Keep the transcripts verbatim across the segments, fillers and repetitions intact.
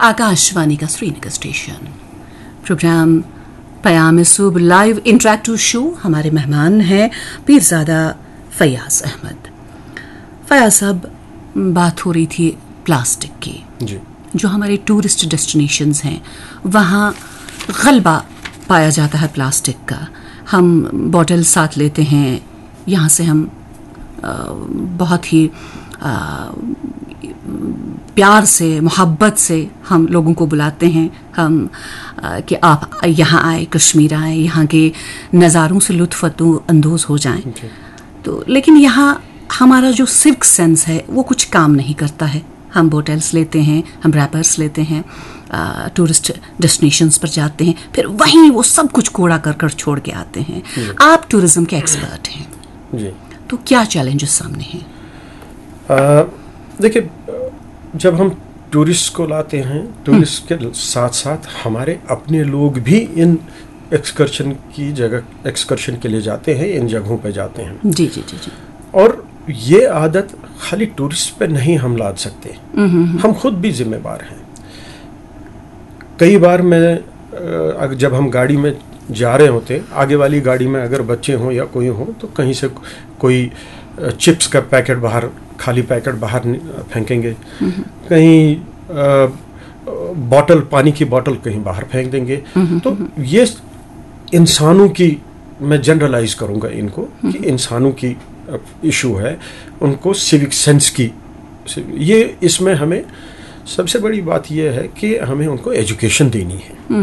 आकाशवाणी का Srinagar station. Programme पयाम सूब live interactive show. हमारे मेहमान हैं पीरजादा फैयाज अहमद। फैयाज साहब, बात हो रही थी प्लास्टिक की। जी। जो हमारे टूरिस्ट डेस्टिनेशंस हैं, वहाँ गलबा पाया जाता है प्लास्टिक का। हम बॉटल साथ लेते हैं, यहाँ से हम अ, बहुत ही अ, प्यार से, मोहब्बत से हम लोगों को बुलाते हैं, हम अ, कि आप यहाँ आए, कश्मीर आए, यहाँ के नज़ारों से लुत्फ अंदोज हो जाएं। जी। तो लेकिन यहाँ हमारा जो सिविक सेंस है, वो कुछ काम नहीं करता है। हम बोटल्स लेते हैं, हम रैपर्स लेते हैं, टूरिस्ट डेस्टिनेशंस पर जाते हैं, फिर वहीं वो सब कुछ कूड़ा करकट छोड़ के आते हैं। आप टूरिज्म के एक्सपर्ट हैं, जी। तो क्या चैलेंजेस सामने हैं? अ, देखिए, जब हम टूरिस्ट को लाते हैं, टूरिस्ट के साथ साथ हमारे अपने लोग भी इन एक्सकर्शन की जगह, एक्सकर्शन के लिए जाते हैं, इन जगहों पे जाते हैं। जी जी जी जी। और ये आदत खाली टूरिस्ट पे नहीं हम लाद सकते, हम खुद भी जिम्मेवार हैं। कई बार मैं अ, अगर जब हम गाड़ी में जा रहे होते हैं, आगे वाली गाड़ी में अगर बच्चे हों या कोई हो, तो कहीं से कोई चिप्स का पैकेट बाहर, खाली पैकेट बाहर नि- फेंकेंगे, कहीं अ, बॉटल, पानी की बॉटल कहीं बाहर फेंक देंगे। तो ये इंसानों की, मैं जनरलाइज करूंगा इनको, कि इंसानों की इशू है, उनको सिविक सेंस की। ये, इसमें हमें सबसे बड़ी बात यह है कि हमें उनको एजुकेशन देनी है,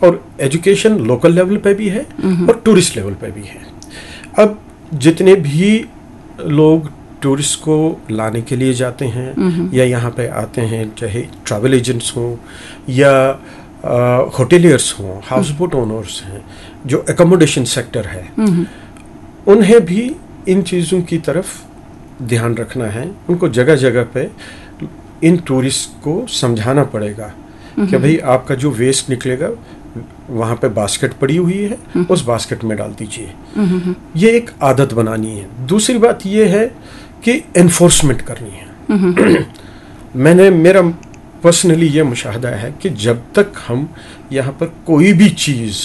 और एजुकेशन लोकल लेवल पे भी है और टूरिस्ट लेवल पे भी है। अब जितने भी लोग टूरिस्ट को लाने के लिए जाते हैं या यहाँ पे आते हैं, चाहे ट्रैवल एजेंट्स हों या होटेलियर्स हों, हाउस बोट ओनर्स हैं, जो एकोमोडेशन सेक्टर है, उन्हें भी इन चीज़ों की तरफ ध्यान रखना है। उनको जगह जगह पे इन टूरिस्ट को समझाना पड़ेगा कि भाई, आपका जो वेस्ट निकलेगा, वहाँ पे बास्केट पड़ी हुई है, उस बास्केट में डाल दीजिए। ये एक आदत बनानी है। दूसरी बात ये है कि एनफोर्समेंट करनी है। मैंने, मेरा पर्सनली ये मुशाहदा है कि जब तक हम यहाँ पर कोई भी चीज़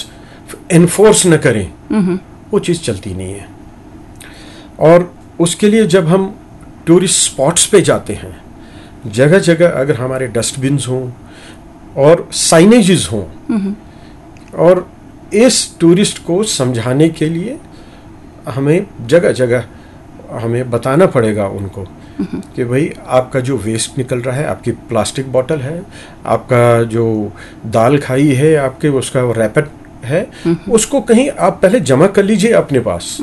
एनफोर्स न करें, वो चीज़ चलती नहीं है। और उसके लिए जब हम टूरिस्ट स्पॉट्स पे जाते हैं, जगह जगह अगर हमारे डस्टबिन्स हों और साइनेजेस हों, और इस टूरिस्ट को समझाने के लिए हमें जगह जगह हमें बताना पड़ेगा उनको कि भाई, आपका जो वेस्ट निकल रहा है, आपकी प्लास्टिक बॉटल है, आपका जो दाल खाई है, आपके उसका रैपर है, उसको कहीं आप पहले जमा कर लीजिए अपने पास।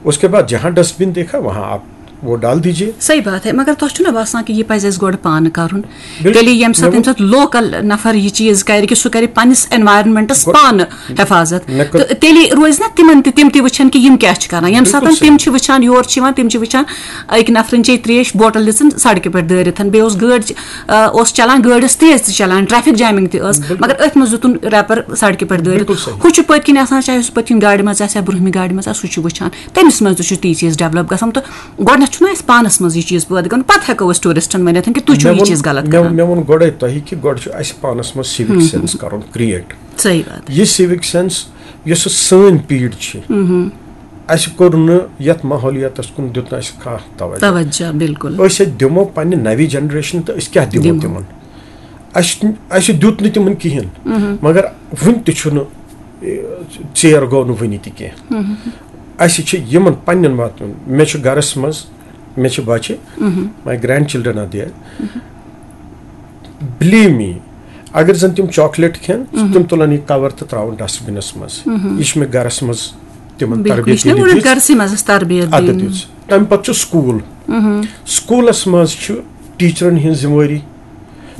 उसके बाद जहाँ डस्टबिन देखा, वहाँ आप वो डाल दीजिए। सही बात है, मगर تۄہہِ چھُو نا باسان کہِ یہِ پَزِ اَسہِ گۄڈٕ پانہٕ کَرُن؟ بِلکُل۔ تیٚلہِ ییٚمہِ ساتہٕ، مےٚ ووٚن ییٚمہِ ساتہٕ لوcal نفر یہِ چیٖز کَرِ کہِ سُہ کَرِ پننِس environmentس گۄ- پانہٕ حفاظت، مےٚ کٔر- تہٕ تیٚلہِ روزِ نا تِمن تہِ، تِم تہِ وٕچھن کہِ یِم کیٛاہ چھِ کران۔ ییٚمہِ ساتہٕ بِلکُل تِم صحیح۔ چھِ وٕچھان، یورٕ چھِ یِوان، تِم چھِ وٕچھان أکۍ نفرن چے ترٛیش بوٹل دِژٕن سڑکہِ پٮ۪ٹھ دٲرِتھ، بیٚیہِ اوس گٲڑۍ، آ، اوس چلان، گٲڑۍ ٲس تیز تہِ چلان، ٹریفک جیمنگ تہِ ٲس، مگر أتھۍ منٛز دیُتُن ریپر سڑکہِ پٮ۪ٹھ دٲرِتھ۔ بِلکُل صحیح۔ ہُہ چھُ پٔتۍ کِنۍ آسان، چاہے سُہ پٔتۍ کِنۍ گاڑِ منٛز آسہِ یا برٛونٛہمہِ گاڑِ منٛز آسہِ، سُہ چھُ وٕچھان۔ تٔمِس منٛز تہِ چھُ تی چیٖز ڈیولپ گژھان۔ تہٕ گۄڈٕنٮ۪تھ چھُنہ اَسہِ پانَس منٛز یہِ چیٖز پٲدٕ کَرُن، پَتہٕ ہٮ۪کو أسۍ ٹوٗرِسٹَن ؤنِتھ کہِ تُہۍ چھِو مےٚ یہِ ووٚن- چیٖز غلط مےٚ کَران۔ مےٚ ووٚن گۄڈَے تۄہہِ کہِ گۄڈٕ چھُ اَسہِ پانَس منٛز سِوِک سٮ۪نٕس کَرُن کِرٛییٹ۔ صحیح بات۔ یہِ سِوِک سٮ۪نٕس یۄس سٲنۍ پیٖڈ چھِ، اَسہِ کوٚر نہٕ یَتھ ماحولیاتَس کُن، دیُت نہٕ اَسہِ کانٛہہ توجہ۔ توجہ، بِلکُل۔ أسۍ ہے دِمو پنٛنہِ نَوِ جَنریشنہِ تہٕ أسۍ کیٛاہ دِمو دِمو۔ تِمَن؟ اَسہِ اَسہِ دیُت نہٕ تِمَن کِہیٖنۍ، مگر وٕنہِ تہِ چھُنہٕ، اے، ژیر گوٚو نہٕ وٕنہِ تہِ کینٛہہ۔ اَسہِ چھِ یِمَن پنٛنٮ۪ن واتُن۔ مےٚ چھُ گَرَس منٛز، مےٚ چھِ بَچہِ، my grandchildren are there, believe me, اگر زَن تِم چاکلیٹ کھٮ۪ن، تِم تُلَن یہِ کَوَر تہٕ ترٛاوَن ڈسٹبِنَس منٛز۔ یہِ چھِ مےٚ گَرَس منٛز تِمَن بِلکُل، یہِ تربیت چھُنہ ییٚلہِ گۄڈٕ دِژ۔ گَرسٕے منٛز اَسہِ تربیت اَدٕ دِنۍ۔ دِژ۔ تَمہِ پَتہٕ چھُ سکوٗل۔ سکوٗلَس منٛز چھُ ٹیٖچرَن ہٕنٛز ذِمہٕ وٲری۔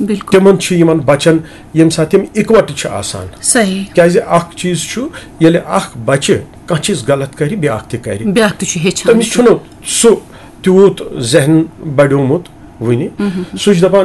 بِلکُل۔ تِمَن چھُ یِمَن بَچَن، ییٚمہِ ساتہٕ تِم اِکوَٹہٕ چھِ آسان۔ صحیح۔ کیٛازِ اَکھ چیٖز چھُ، ییٚلہِ اَکھ بَچہِ کانٛہہ چیٖز غلط کَرِ، بیٛاکھ تہِ کَرِ۔ بیٛاکھ تہِ چھُ ہیٚچھان۔ تٔمِس چھُنہٕ سُہ تیوٗت ذہن بَڑیومُت وٕنہِ۔ سُہ چھُ دَپان،